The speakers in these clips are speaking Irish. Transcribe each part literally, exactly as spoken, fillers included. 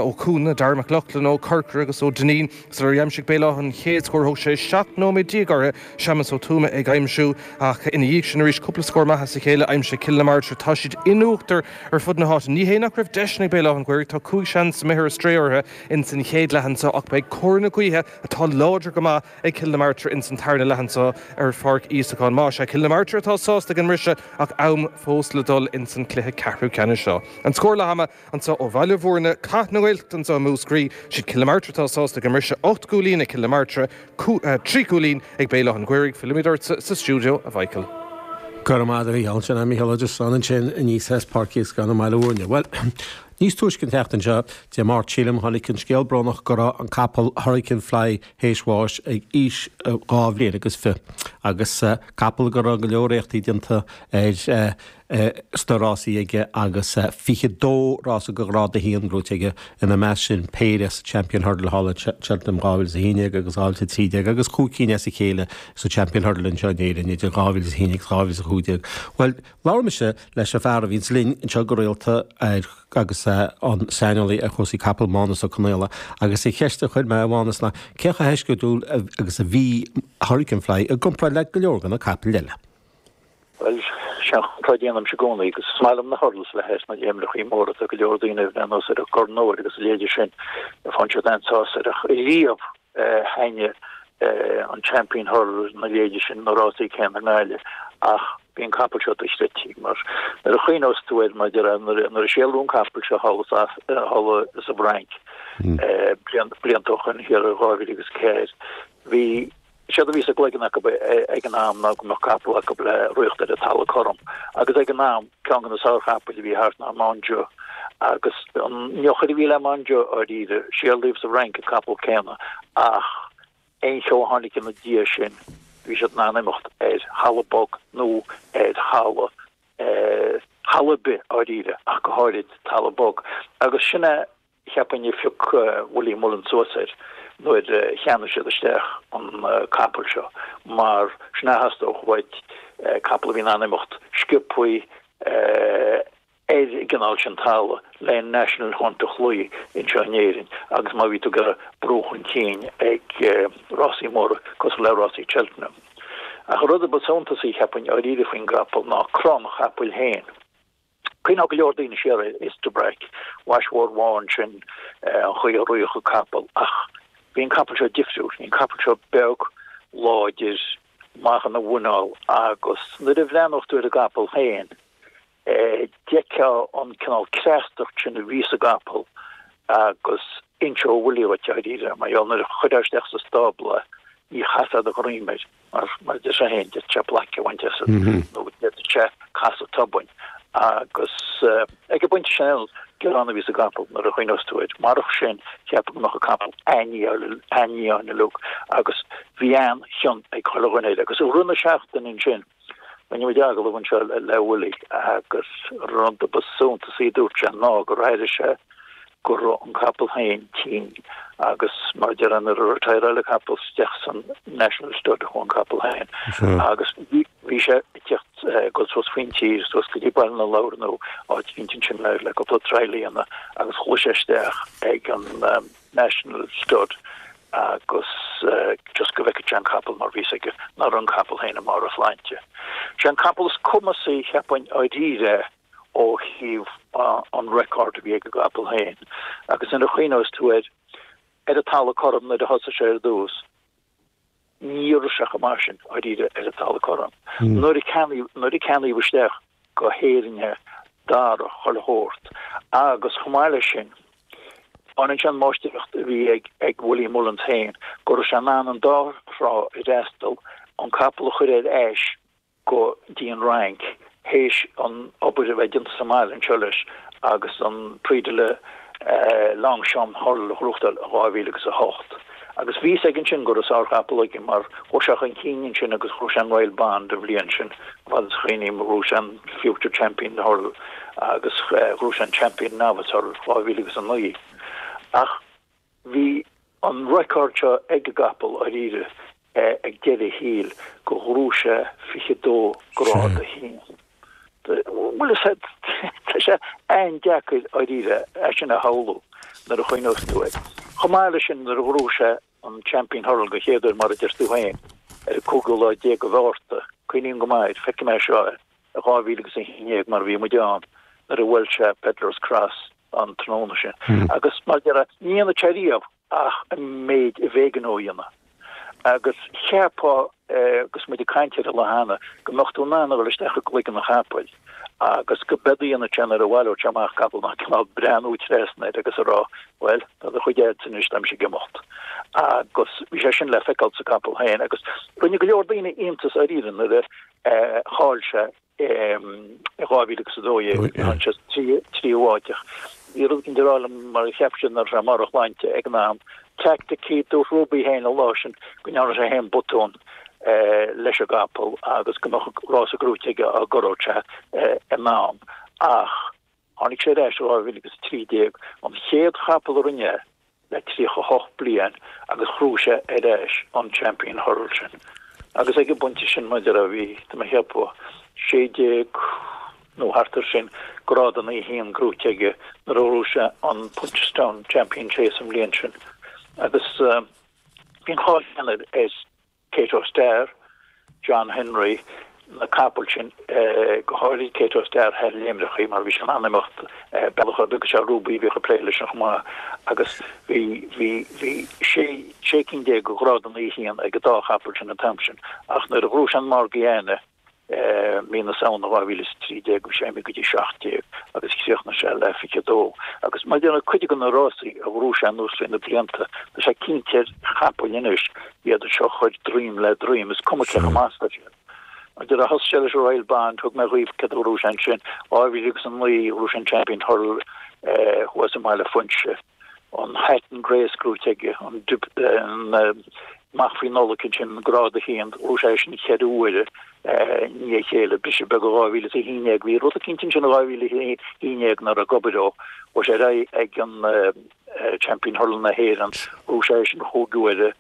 Ó Cuana, Darragh McLaughlin ó Corcra agus ó Dineen sular aimsigh Béal Átha an chéad scór thóg sé seacht nóiméad déag orthu Séamus Ó Tuama ag aimsiú ach ina dhiaidh sin arís cúpla scór maith as a chéile aimsithe Cill na Martra tá siad in uachtar ar fud na háite. Ní hé nach raibh deiseanna ag Béal Átha an Ghaorthaidh tá cúig seans imithe ar strae orthu ins an chéad leath anseo ach beidh cóir na gaoithe atá láidir go maith ag Cill na Martra ins an tarna leath anseo ar Pháirc Íosacáin. Má sé Cill na Martra atá sásta ag an mbriseadh ach am fós le dul ins an cluiche ceathrú ceannais seo. An scór leath ama anseo ó Bhaile Bhúirne Cath na nGaeltachta anseo i Múscraí siad Cill na Martra atá sásta ag an mbriseadh ocht gcúilín ag Cill na Martra trí chúilín ag Béal Átha an Ghaorthaidh fillimid ort sa stiúideo a Mhichael. Go raibh maith agat sin Mícheál Ó Diosáin ansin aníos as Páirc Íosacáin i mBaile Bhúirne. Well, níos túisce an tseachtain seo Dé Máirt sílim tháinig an scéal brónach go raibh an capall Hurricane Fly théis bháis ag aois dhá bhliain agus fiche agus capall go raibh go leor éachtaí déanta ar sna rásaí aige agus fiche dó rása de ghrád a haon gnóite aige ina measc sin péire sa Champion Hurdle thall in Cheltenham dhá mhíle is a haon déag agus dhá mhíle is a trí déag agus cúig cinn as a chéile sa Champion Hurdle anseo in Éirinn idir dhá mhíle is a haon agus dhá mhíle is a cúig déag. Well, labhair mise leis an fear a bhíonns linn anseo go rialta ar agus an saineolaí ar chúrsaí capall Mánus Ó Conaola agus an cheist a chuir mé ar Mhánus ná cé chomh heisceachtúil agus a bhí Hurricane Fly i gcomparáid le go leor de na capaill eile. Well, sin tá déanaim i gcónaí agus is maith liom na hurdles le heis na léimreachaí móra tá go leor daoine bhenos ar an gCorn Óir agus a leithéid sin faigheann siad an-sásamh ach riamh thaitnigh an Champion Hurdle na leithéid sin na rásaí céanna i nGaillimh ach bhí an capall seo dochreidte mar nuair a chuimhneos tú air mar nuair a séalú an capall seo thall thall sa bhFrainc blianta ó shin thiar i dhá mhíle agus ceathair bhí Séard a bhí sa gcloigeann acu ag an am ná go mbeadh capall acu le rith ar an talamh cothrom agus ag an am ceann de na sárchapaill a bhí thart ná Montjeu agus an eochair a bhí le Montjeu dáiríre, séalaíodh sa bhFrainc an capall céanna ach aon cheo a tháinig ina diaidh sin bhí siad in ann imeacht ar thalamh bog nó ar thalamh thalamh ar bith dáiríre ach go háirid talamh bog agus sin é cheapfainn a phioc Willie Mullins suas air nuair a cheannaigh siad isteach an capall seo mar sin a theastódh uait, capall a bhí in ann imeacht sciobthaí ar an gcineál sin talamh le National Hunt a chloí anseo in Éirinn agus má bhí tú ag iarraidh brú chun cinn ag rásaí móra cosúil le rásaí Cheltenham. Ach an rud a ba suntasaí, cheapfainn, dáiríre faoin gcapall ná cruth an chapaill féin. Cuimhneoidh go leor daoine siar ar Istabraq, mhais mhór bhán sin, an chaoi a ritheadh an capall, ach bhí an capall seo difriúil. Bhí an capall seo beag, láidir, maith ina mhuineál agus nuair a bhreathnódh tú ar an gcapall féin, d'fheicfeá an cineál cneastacht sin a bhí sa gcapall agus inseodh Willie dhuit, dáiríre, mar gheall nuair a chuirfeá isteach sa stábla é, ní chasfá do dhroim air. Mar mar a deir sé féin, d'fhéadfadh sé plaic a bhaint asat nó d'fhéadfadh sé casadh tobann. Agus ag an bpointe sin, gearán a bhí sa gcapall nuair a chuimhneos tú air. Marach sin, cheapfá go mbeadh an capall an-fhiáin uilig agus bhí an-chion ag chuile dhuine air. Agus i rith na seachtaine ansin, rinne muid agallamh anseo le Willie agus rud a ba suntasaí a dúirt sé ná gur airigh sé go raibh an capall féin tinn agus mar a déarfá nuair a retireáil an capall isteach san National Stud a chuaigh an capall féin agus bhí sé ag teacht dul suas faoin tír suas go dtí Baile na Lobhar nó áit eicínt ansin le le cúpla trial a dhéanamh agus chuaigh sé isteach ag an National Stud agus just go bhfeicfeadh sé an capall mar bhí fhios aige nach raibh an capall féin i mbarr a shláinte. Sé an capall is cumasaí cheapfainn dáiríre ó thaobh an record a bhí ag an gcapall féin agus nuair a chuimhneos tú air ar an talamh cothrom nuair a thosaigh sé ar dtús, ní raibh sé chomh maith sin dáiríre ar an talamh cothrom. Nuair a ceannaíodh nuair a ceannaíodh isteach go hÉirinn é d'athraigh chuile shórt agus chomh maith leis sin baineann sé an máistreacht a bhí ag ag Willie Mullins féin go raibh sé in ann an dá thrá a fhreastal, an capall a chur ar ais go dtí an Fhrainc théis an obair a bheith déanta sa mbaile anseo leis agus an Prix de la Longchamp Hurdle a ghnóthachtáil in dhá mhíle agus a hocht. Agus bhí fhios aige ansin go raibh sárchapall aige mar chuaigh sé chun cinn ansin agus ghnóthaigh sé an Royal Bond an bhliain sin, fad is a chuimhním, ghnóthaigh sé an Future Champion Hurdle agus ghnóthaigh sé an Champion Novice Hurdle dhá mhíle agus a naoi. Ach bhí an record seo ag an gcapall dáiríre ag deireadh a shaoil go ghnóthaigh sé fiche dó grád a haon. Bhuel is tá sé an-deacair dáiríre é sin a shamhlú. nuair a chuimhneos tú air. Chomh maith leis sin nuair a ghnóthaigh sé an Champion Hurdle go chéad uair mar a deir tú féin ar an cúigiú lá déag de Mhárta, cuimhním go maith air, feicfidh mé seo i dhá mhíle agus a haon déag mar bhí muid ann nuair a bhuail sé Peddler's Cross an tráthnóna sin. Agus mar a déarfá, ní dhéanfaidh sé riamh ach an méid a b'éigean dó a dhéanamh. Agus cheapfá, agus muid ag caint air an lá cheana, go mbeadh tú in ann a dhul isteach i gcloigeann an chapaill agus go b'éard a dhéanfadh sé nuair a bhaileodh sé amach capall ná cineál breathnú trasna air agus a rá, bhuel, tá do chuid agatsa anois, tá mise ag imeacht. Agus bhí sé sin le feiceáil sa gcapall féin agus rinne go leor daoine iontas dáiríre nuair a chaill sé i dhá mhíle agus a dó dhéag, tháinig sé sa tríú háit ach bhí rud éicint ag rá liom mar cheap siad nach raibh sé i mbarr a shláinte ag an am. Teaicticí, dúirt Ruby féin an lá sin go ndearna sé féin botún leis an gcapall agus go mbeadh rása gnóite aige dá gcorródh sé in am. Ach tháinig sé ar ais i dhá mhíle agus a trí déag, an chéad chapall a rinne é le tríocha a hocht bliain agus ghnóthaigh sé ar ais an Champion Hurdle sin. Agus ag an bpointe sin, mar a déarfá, bhí, tá mé a cheapadh, sé déag nó thart air sin, grád a naoi haon gnóite aige nuair a ghnóthaigh sé an Punchestown Champion Chase an bhliain sin. Agus bhí an cháil chéanna ar Kauto Star, John Henry, na capaill sin, go háirid Kauto Star thar léimreachaí mar bhí sé in ann imeacht bealach ar bith agus sé Ruby a bhíodh ag plé leis sin chomh maith agus bhí, bhí, bhí sé, sé cinn déag de ghrád a naoi haon ag an dá chapall sin an t-am sin ach nuair a ghnóthaigh sé an Morgiana, mí na Samhna dhá mhíle is a trí déag, bhí sé imithe go dtí seacht déag agus chríochnaigh sé le fiche a dó. Agus mar a déarfá cuid de na rásaí a ghnóthaigh sé anuas trí na blianta, tá sé cinnte ar chapaill anois, iad seo a chur droim le droim, is cuma cé chomh maith is atá siad. Mar a déarfá thosaigh sé leis an Royal Bond, thug mé dhaoibh céard a ghnóthaigh sé ansin, dhá mhíle agus a naoi, ghnóthaigh sé an Champion Hurdle thuas i mBaile Phúinse. an Hatton Grace gnóite aige, an amach faoi Nollaig ansin, grád a haon, ghnóthaigh sé sin ceithre huaire i ndiaidh a chéile, briseadh beag i dhá mhíle is a haon déag, bhí rud eicínt ansin i dhá mhíle a haon déag nach raibh ag obair dó, chuaigh sé ar aghaidh ag an Champion Hurdle na hÉireann, ghnóthaigh sé sin chúig huaire,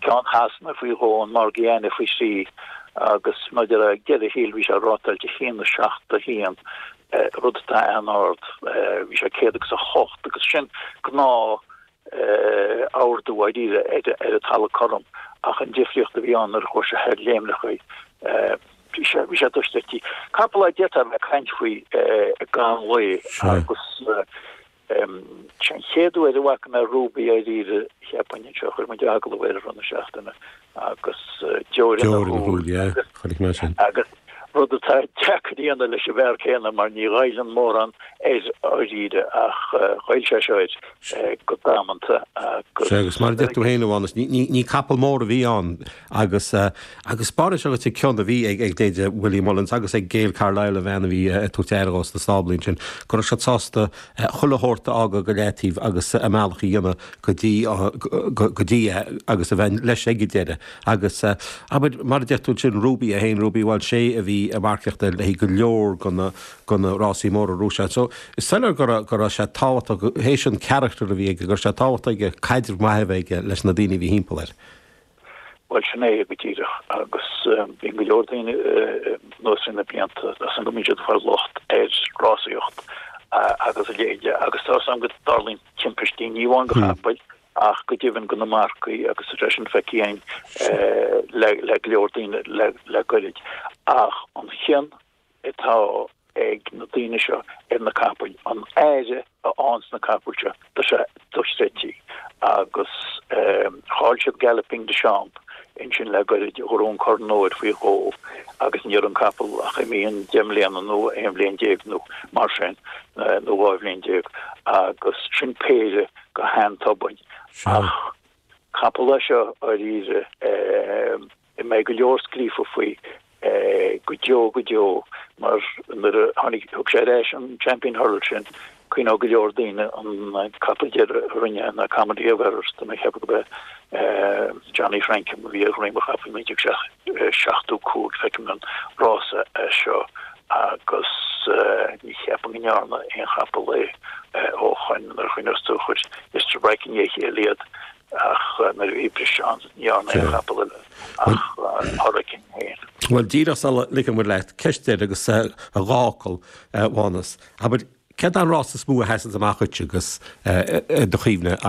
ceann Shasana faoi dhó, an Morgiana faoi thrí, agus maidir le deireadh thiar bhí sé rátáilte a haon a seacht a haon. rud atá an-ard, bhí sé céad agus a hocht agus sin gnáth ardú dáiríre ar an talamh cothrom ach an difríocht a bhí ann nuair a chuaigh sé thar léimreachaí bhí sé bhí sé dochreidte. Capall a d'fhéadfá a bheith ag caint faoi gan mhoill agus Sé an chéad uair a bhfaca mé Ruby dáiríre, cheapfainn, anseo, chuir muid agallamh air i rith na seachtaine agus deoir ina shúil agus rud atá deacair a dhéanamh leis an bhfear céanna mar ní ghoilleann mórán air dáiríre ach ghoill sé seo air go damanta agus. Sea, agus mar a deir tú féin, a Mhánais, ní capall mór a bhí ann agus agus b'áirithe seo an cion a bhí ag leithéide Willie Mullins agus ag Gail Carlisle, a bhean a bhí ag tabhairt aire dhó sna stáblaí ansin, go raibh siad sásta chuile shórt a fhágáil go leataobh agus a mbealach a dhéanamh go dtí go dtí é agus a bheith leis ag an deireadh. Agus abair, mar a deir tú ansin, Ruby é féin, Ruby Walsh, sé a bhí ag marcaíocht air le haghaidh go leor de na de na rásaí móra a ghnóthaigh sé. So is soiléir go raibh go raibh sé tábhachtach, théis an charachtar a bhí aige, go raibh sé tábhachtach aige caidreamh maith a bheith aige leis na daoine a bhí thimpeall air. Bhuel, sin é go díreach. Agus bíonn go leor daoine anuas trí na blianta as an go mbíonn siad ag fáil locht ar rásaíocht agus a leithéide agus tá a fhios agam go dtarlaíonn timpistí, ní amháin do chapaill ach go deimhin do na marcaigh agus tá sé sin feicthe againn le go leor daoine le goirid. Ach an chion atá ag na daoine seo ar na capaill, an aire a fhaigheanns na capaill seo, tá sé dochreidte. Agus chaill siad Galloping Des Champs ansin le goirid, a ghnóthaigh an Corn Óir faoi dhó agus ní raibh an capall ach imithe an deich mbliana nó aon bhliain déag nó mar sin, nó dhá bhliain déag, agus sin péire go han-tobann. Ach capall é seo, dáiríre. a mbeidh go leor scríofa faoi go deo go deo mar nuair a tháinig, thug sé ar ais an Champion Hurdle sin, cuimhneoidh go leor daoine an capall deiridh a rinne ná Comedy of Errors, tá mé ag ceapadh gurb é Johnny Francome a bhí ar dhroim an chapaill naoi déag seachtó cúig, feicim an rása é seo agus ní cheapaim go ndearna aon chapall é ó shoin nuair a chuimhneos tú chuir Istabraq i ndiaidh a chéile iad. Ach nuair a bhí briseadh ann, ní dhearna aon chapall eile ach Hurricane féin. Bhuel, díreach sula ligfidh muid leat, ceist deiridh agus dhá fhocal, a Mhánais. Abair, Céard an rás is mó a sheasann amach duit agus do chuimhne